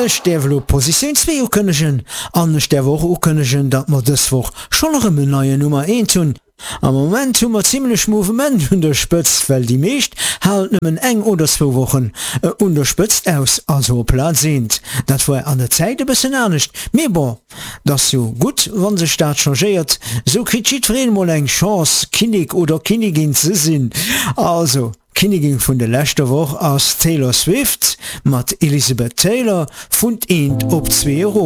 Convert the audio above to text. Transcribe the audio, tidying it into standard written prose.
Ech däerf elo Positioun 2 ukënnegen an ech däerf och ukënnegen, datt mer dës Woch schonn erëm en neien Nummer eent hunn. Am Moment hu mer zimlech Mouvement un der Spëtzt, well déi meescht halen nëmmen eng oder zwou Wochen un der Spëtzt aus, also op Plaz eent. Dat war an der Zäit e bëssen anescht, mee bon, 't ass jo gutt wann sech dat changéiert, sou kritt jiddwereen mol eng Chance Kinnek oder Kinnigin ze sinn. Also, Kinnigin vun der leschter Woch ass d'Taylor Swift mat Elizabeth Taylor vun eent op zwee erof.